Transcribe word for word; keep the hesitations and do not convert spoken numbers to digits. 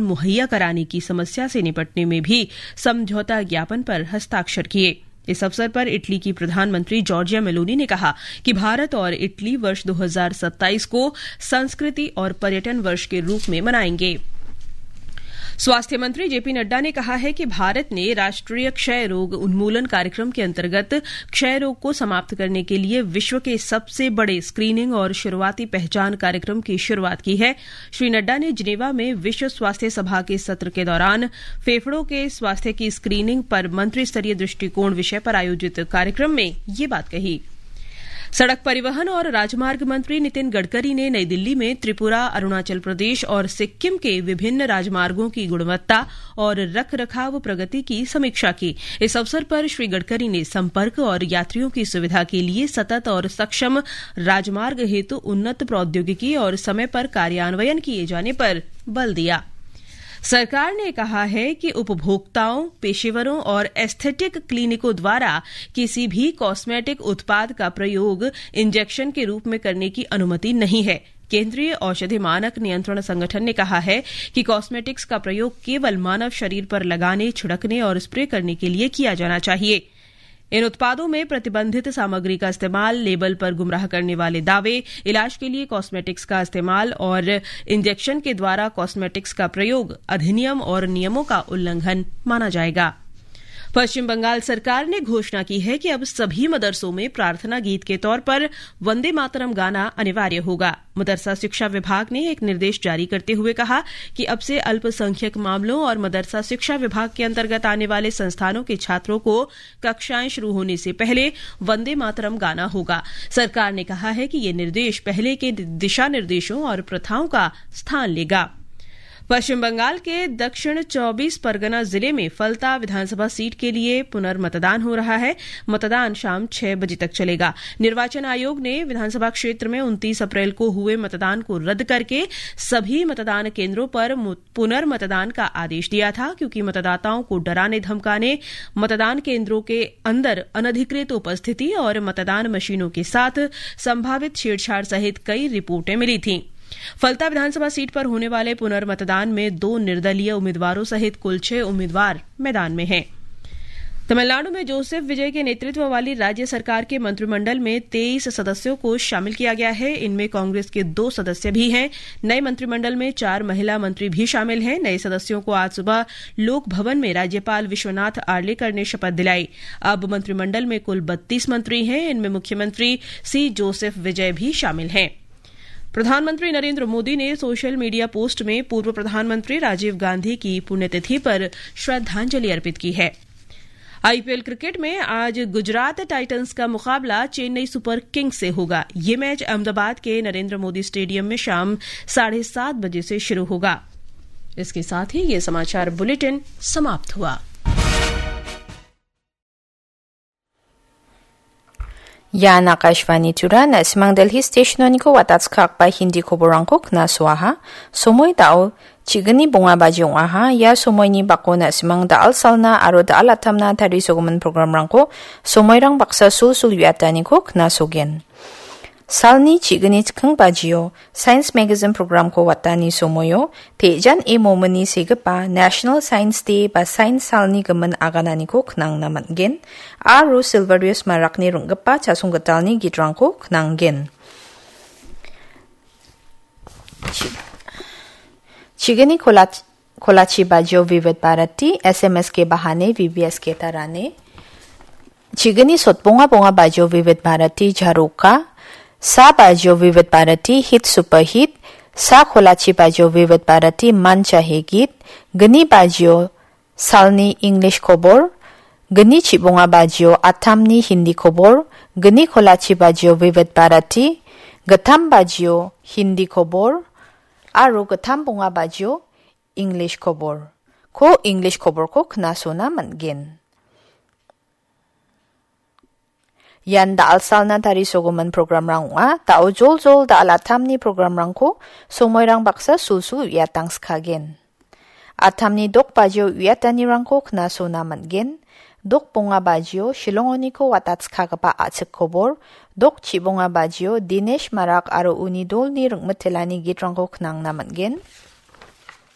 मुहैया कराने की समस्या से निपटने में भी समझौता ज्ञापन पर हस्ताक्षर किए। इस अवसर पर इटली की प्रधानमंत्री जॉर्जिया मेलोनी ने कहा कि भारत और इटली वर्ष दो हज़ार सत्ताईस को संस्कृति और पर्यटन वर्ष के रूप में मनाएंगे। स्वास्थ्य मंत्री जेपी नड्डा ने कहा है कि भारत ने राष्ट्रीय क्षय रोग उन्मूलन कार्यक्रम के अंतर्गत क्षय रोग को समाप्त करने के लिए विश्व के सबसे बड़े स्क्रीनिंग और शुरुआती पहचान कार्यक्रम की शुरुआत की है। श्री नड्डा ने जिनेवा में विश्व स्वास्थ्य सभा के सत्र के दौरान फेफड़ों के स्वास्थ्य की स्क्रीनिंग पर मंत्री स्तरीय दृष्टिकोण विषय पर आयोजित कार्यक्रम में ये बात कही। सड़क परिवहन और राजमार्ग मंत्री नितिन गडकरी ने नई दिल्ली में त्रिपुरा, अरुणाचल प्रदेश और सिक्किम के विभिन्न राजमार्गों की गुणवत्ता और रखरखाव प्रगति की समीक्षा की। इस अवसर पर श्री गडकरी ने संपर्क और यात्रियों की सुविधा के लिए सतत और सक्षम राजमार्ग हेतु उन्नत प्रौद्योगिकी और समय पर कार्यान्वयन किए जाने पर बल दिया। सरकार ने कहा है कि उपभोक्ताओं, पेशेवरों और एस्थेटिक क्लिनिकों द्वारा किसी भी कॉस्मेटिक उत्पाद का प्रयोग इंजेक्शन के रूप में करने की अनुमति नहीं है। केंद्रीय औषधि मानक नियंत्रण संगठन ने कहा है कि कॉस्मेटिक्स का प्रयोग केवल मानव शरीर पर लगाने, छिड़कने और स्प्रे करने के लिए किया जाना चाहिए। इन उत्पादों में प्रतिबंधित सामग्री का इस्तेमाल, लेबल पर गुमराह करने वाले दावे, इलाज के लिए कॉस्मेटिक्स का इस्तेमाल और इंजेक्शन के द्वारा कॉस्मेटिक्स का प्रयोग अधिनियम और नियमों का उल्लंघन माना जाएगा। पश्चिम बंगाल सरकार ने घोषणा की है कि अब सभी मदरसों में प्रार्थना गीत के तौर पर वंदे मातरम गाना अनिवार्य होगा। मदरसा शिक्षा विभाग ने एक निर्देश जारी करते हुए कहा कि अब से अल्पसंख्यक मामलों और मदरसा शिक्षा विभाग के अंतर्गत आने वाले संस्थानों के छात्रों को कक्षाएं शुरू होने से पहले वंदे मातरम गाना होगा। सरकार ने कहा है कि ये निर्देश पहले के दिशा निर्देशों और प्रथाओं का स्थान लेगा। पश्चिम बंगाल के दक्षिण चौबीस परगना जिले में फलता विधानसभा सीट के लिए पुनर्मतदान हो रहा है। मतदान शाम छह बजे तक चलेगा। निर्वाचन आयोग ने विधानसभा क्षेत्र में उनतीस अप्रैल को हुए मतदान को रद्द करके सभी मतदान केंद्रों पर मु-, पुनर्मतदान का आदेश दिया था, क्योंकि मतदाताओं को डराने धमकाने, मतदान केंद्रों के अंदर अनधिकृत उपस्थिति और मतदान मशीनों के साथ संभावित छेड़छाड़ सहित कई रिपोर्टें मिली थीं। फलता विधानसभा सीट पर होने वाले पुनर्मतदान में दो निर्दलीय उम्मीदवारों सहित कुल छह उम्मीदवार मैदान में हैं। तमिलनाडु में जोसेफ विजय के नेतृत्व वाली राज्य सरकार के मंत्रिमंडल में तेईस सदस्यों को शामिल किया गया है। इनमें कांग्रेस के दो सदस्य भी हैं। नए मंत्रिमंडल में चार महिला मंत्री भी शामिल हैं। नए सदस्यों को आज सुबह लोक भवन में राज्यपाल विश्वनाथ आर्लेकर ने शपथ दिलाई। अब मंत्रिमंडल में कुल बत्तीस मंत्री हैं। इनमें मुख्यमंत्री सी जोसेफ विजय भी शामिल हैं। प्रधानमंत्री नरेंद्र मोदी ने सोशल मीडिया पोस्ट में पूर्व प्रधानमंत्री राजीव गांधी की पुण्यतिथि पर श्रद्धांजलि अर्पित की है। आईपीएल क्रिकेट में आज गुजरात टाइटंस का मुकाबला चेन्नई सुपर किंग्स से होगा। ये मैच अहमदाबाद के नरेंद्र मोदी स्टेडियम में शाम साढ़े सात बजे से शुरू होगा। इसके साथ ही ये समाचार बुलेटिन समाप्त हुआ। Ian Akashvani Tura, na·simang Delhi station-oniko watatskakgipa Hindi koborangko knasoaha. Somoi dao, chigni bonga baji ong·aha. Ia somoini bako na·simang da·al salna aro da·al atamna tarisogimin programrangko somoirang baksa sulsul uiataniko knasogen. Salni chigni chikking bajio, Science Magazine programko watani somoio, Tejan A Momini segipa National Science Day ba Science Salni gimin agananiko knangna man·gen, aro Silverius Marakni ring·gipa chasong gitalni gitrangko knanggen. Chi-, chigni kola-, kolachi bajio Vivid Bharati, S M S ke bahane, V B S ke tarane. Chigni sotbonga bonga bajio Vivid Bharati jaroka, sa bajio Vivid Bharati hit super hit, sa kolachi bajio Vivid Bharati man chahe git, gni bajio salni English kobor, gni chibonga bajio atamni Hindi kobor, gni kolachi bajio Vivid Bharati, gittam bajio Hindi kobor, aro gittam bonga bajio English kobor. Ko English koborko knasona man·gen. Ian da·al salna tarisogimin programrang ong·a. Da·o joljol da·al atamni programrangko somoirang baksa sulsul uiatangskagen. Atamni dok bajio uiatanirangko knasona man·gen. Dok bonga bajio Shillongoniko watatskagipa a·chik kobor. Dok chibonga bajio Dinesh Marak aro uni dolni ring·mitelani gitrangko knangna man·gen.